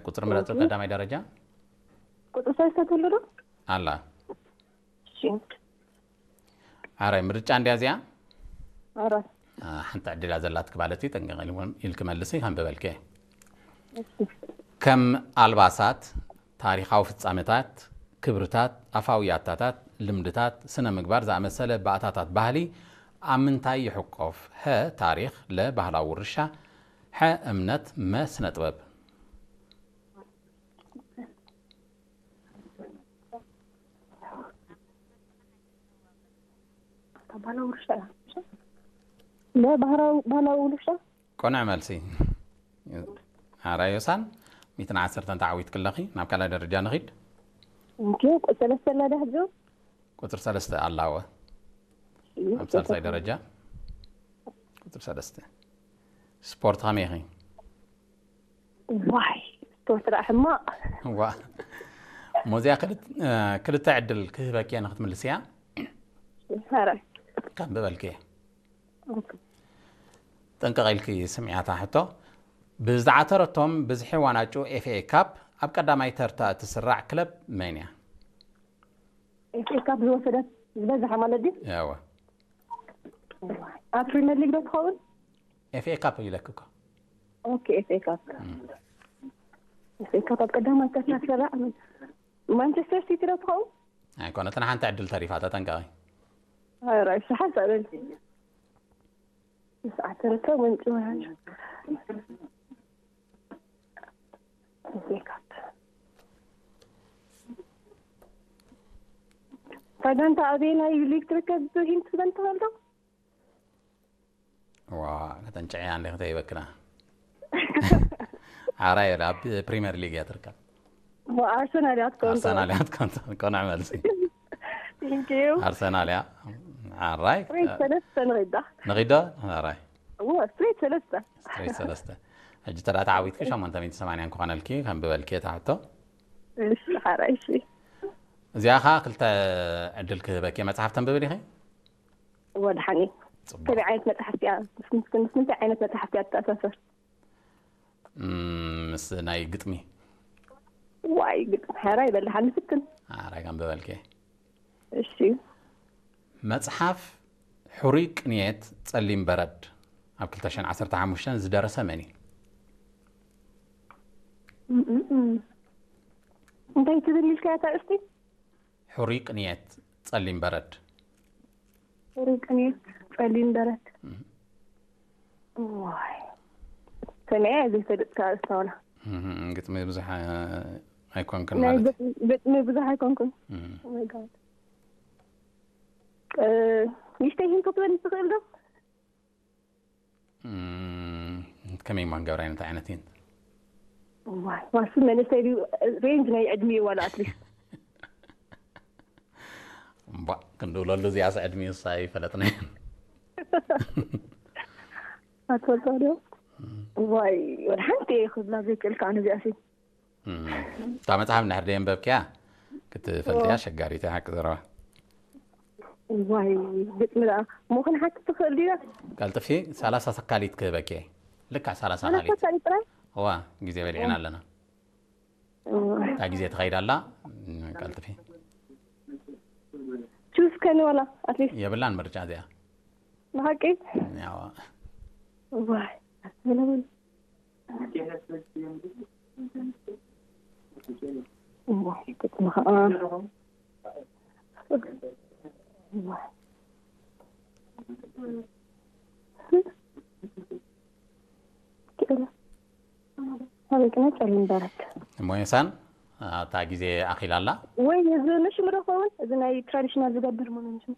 ቁፅሪ ምረፁ። ቀዳማይ ደረጃ ቁፅሪ ሰለስተ ትህሉ ዶ? ኣላ። እሺ። ኣራይ ምርጫ እንዲያ እዚኣ። ኣራይ ሓንቲ ዕድላ ዘላትክ ማለት እዩ። ጠንቀቕ ኢልክመልሲ ከም በበልከ። ከም ኣልባሳት፣ ታሪኻዊ ፍጻመታት፣ ክብርታት፣ ኣፋዊ ያታታት፣ ልምድታት፣ ስነ ምግባር ዝኣመሰለ ባእታታት ባህሊ ኣብ ምንታይ ይሕቆፍ? ሀ ታሪኽ፣ ለ ባህላዊ ውርሻ፣ ሐ እምነት፣ መ ስነ ጥበብ። ባህላዊ ውርሻ። ቆንዕ መልሲ። ኣራይ ዮሳን ሚትን ዓሰርተን ተዓዊትክ ኣለኺ። ናብ ካልኣይ ደረጃ ንኺድ። ሰለስተ ኣላ ዳሕጆ። ቁፅሪ ሰለስተ ኣላወ ኣብ ሳልሳይ ደረጃ። ቁፅሪ ሰለስተ። ስፖርት ከመይ ኢኺ? ዋይ ስፖርት ደኣ ሕማቕ። ዋ። ሞዚያ ክልተ ዕድል ክህበኪ እየ ንክትምልስያ። ሐራይ ከም በበልክየ። ጥንቅቕ ኢልኪ ስምዕያታ ሕቶ። ብዝተዓተረቶም ብዝሒ ዋናጩ ኤፍኤ ካፕ ኣብ ቀዳማይ ተርታ እትስራዕ ክለብ መን እያ? ኤፍኤ ካፕ ዝወሰደት ዝበዝሓ ማለት ድዩ? ያወ ኣብ ፕሪሚየር ሊግ ዶ ትኸውን? ኤፍኤ ካፕ ይለክ እኮ። ኦኬ ኤፍኤ ካፕ ኤፍኤ ካፕ ኣብ ቀዳማይ ተርታ ትስራዕ ማንቸስተር ሲቲ ዶ ትኸውን? ኣይኮነትን፣ ሓንቲ ዕድል ተሪፋ፣ ተጠንቀቒ። ራእሲ ሓሳበል ምስ ዓተረቶ ወንጭ ወሃን ዜጋት ፋይዳንታ ኣበይ ናይ ሊግ ትርከብ? ሂንት ትበል ትኽእል ዶ? ዋ ከተንጨያ እንደ ከተይበክና። ዓራይ ኣብ ፕሪሚየር ሊግ እያ ትርከብ። ኣርሰናል እያ ትከውን። ኣርሰናል እያ ትከውን። ቆንዕ መልሲ። Thank you። ኣርሰናል እያ። ዓራይ ሬት ሰለስተ ንኺዳ ንኺዶ። ዓራይ እዎ ስትሬት ሰለስተ ስትሬት ሰለስተ። ሕጂ ተዳ ተዓዊትኪ ሸሞንተ ሚእቲ ሰማንያ ክኾነልኪ ከም ብበልኪ እታ ሕቶ። እሺ ሓራይ እሺ። እዚኣ ኸዓ ክልተ ዕድል ክህበኪ። መጽሓፍ ተንብቢ ዲኺ? ወድሓኒ ጽቡቕ። ከመይ ዓይነት መጽሓፍቲ እያ? ምስ ምስ ምስ ምንታይ ዓይነት መጽሓፍቲ እያ ትተኣሳሰር? እም፣ ምስ ናይ ግጥሚ። ዋይ ግጥሚ ሓራይ በልሓኒ ፍትን። ሓራይ ከም ብበልኪ። እሺ መጽሓፍ ሕሩይ ቅንየት ጸሊም በረድ ኣብ ክልተ ሽሕን ዓሰርተ ሓሙሽተን ዝደረሰ መን እዩ? እም፣ እም፣ እም። እንታይ ትብል ኢልካያ እታ እስቲ? ሕሩይ ቅንየት ጸሊም በረድ። ሕሩይ ቅንየት ጸሊም በረድ። ዋይ ሰሚዐ ዘይፈልጥ ካብ እስታውላ እም፣ ግጥሚ ብዙሕ ኣይኮንክን ናይ ማለት እዩ። ግጥሚ- ግጥሚ ብዙሕ ኣይኮንኩን። እም። Oh my God። እ፣ ንእሽተይ ሂንቶ ትበል ትኽእል ዶ? እም፣ ከመይ እሞ ክንገብራ እንታይ ዓይነት ሂንት? ዋይ ዋሱ መንእሰይ ድዩ? ሬንጅ ናይ ዕድሚኡ ዋላ ኣትሊስት እምቧ ክንድውለሉ እዚኣስ ዕድሚኡስ ኣይፈለጥናዮን። ኣትፈልጦ ዶ? ዋይ ወላ ሓንቲ እየ ክብላ ዘይክእል ከዓ ነዚኣ ሲ እም፣ እታ መጽሓፍ እንድሕር ደየንበብክያ ክትፈልጥያ ኣሸጋሪት እያ ሓቂ ዘረባ። ዋይ ግጥሚ ደኣ እሞ ክንሓትት ትኽእል ድያ? ቀልጥፊ ሰላሳ ሰካሊት ክህበኪ እየ። ልክዕ ሰላሳ ሰላሳ ሰካሊት። ሰካሊት ጥራይ? እዋ ግዜ በሊዕና ኣለና። እታ ግዜ ትኸይድ ኣላ። ቀልጥፊ። ቹስ ከኒ ዋላ ኣትሊስት የብላን ምርጫ እዚኣ። ብሓቂ ያዋ ዋይ ኣስተለውን ዋይ ግጥሚ ከዓ ዋይ ክእለ ኣበይ ቅነ ጸሊም በረድ እሞ የሳን እታ ግዜ ኣኺላ ኣላ። ወይ እዚ ንሽሙ ዶ ኸውን እዚ ናይ ትራዲሽናል ዝገብር ሞ ንሽሙ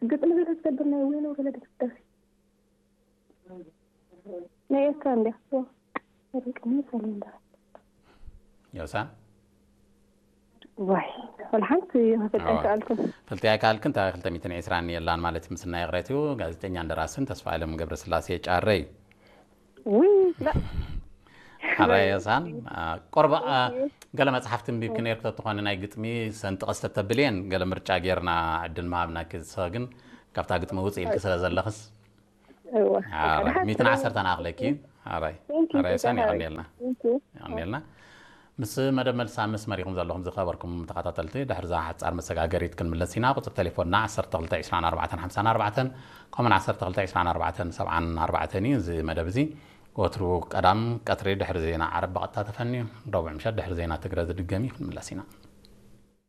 ግጥሚ ዝገብር ናይ ወይ ነው ገለ ደስ ናይ ኤርትራ እንዲያ ኣበይ ቅነ ጸሊም በረድ ዮሳን ዋይ ወላ ሓንቲ ክፈልጥ ኣይከኣልኩን። ፈልጥያ ካልክን እታ ክልተ ሚእትን ዕስራን የላን ማለት ምስና ይቕሬት እዩ። ጋዜጠኛ እንደራስን ተስፋ ኣለም ገብረስላሴ ጫረ እዩ። ውይ ላ ሓራይ ዮሳን አ፣ ቆርባ አ፣ ገለ መጽሓፍቲ እንቢብኪ ነርክ ተትኾኒ ናይ ግጥሚ ሰንጥቐስ ተተብልየን ገለ ምርጫ ጌርና ዕድል ምሃብናኪ። ንስኺ ግን ካብታ ግጥሚ ውፅእ ኢልኪ ስለ ዘለኽስ እወ ሓራይ ሚእትን ዓሰርተን ኣኽለኪ። ኣራይ Thank you, ኣራይ ሳኒ ተጋሃሪ። የቐንየልና። Thank you. የቐንየልና። ምስ መደብ መልሲ ኣብ መስመር ኢኹም ዘለኹም ዝኸበርኩም ተኸታተልቲ፣ ድሕሪ እዛ ሓጻር መሰጋገሪት ክንምለስ ኢና። ቁጽሪ ቴሌፎንና ዓሰርተ ክልተ ዕስራን ኣርባዕተን ሓምሳን ኣርባዕተን ከምኡን ዓሰርተ ክልተ ዕስራን ኣርባዕተን ሰብዓን ኣርባዕተን እዩ። እዚ መደብ እዚ ወትሩ ቀዳም ቀትሪ ድሕሪ ዜና ዓረብ ብቐጥታ ተፈንዩ፣ ረቡዕ ምሸት ድሕሪ ዜና ትግረ ዝድገም እዩ። ክንምለስ ኢና።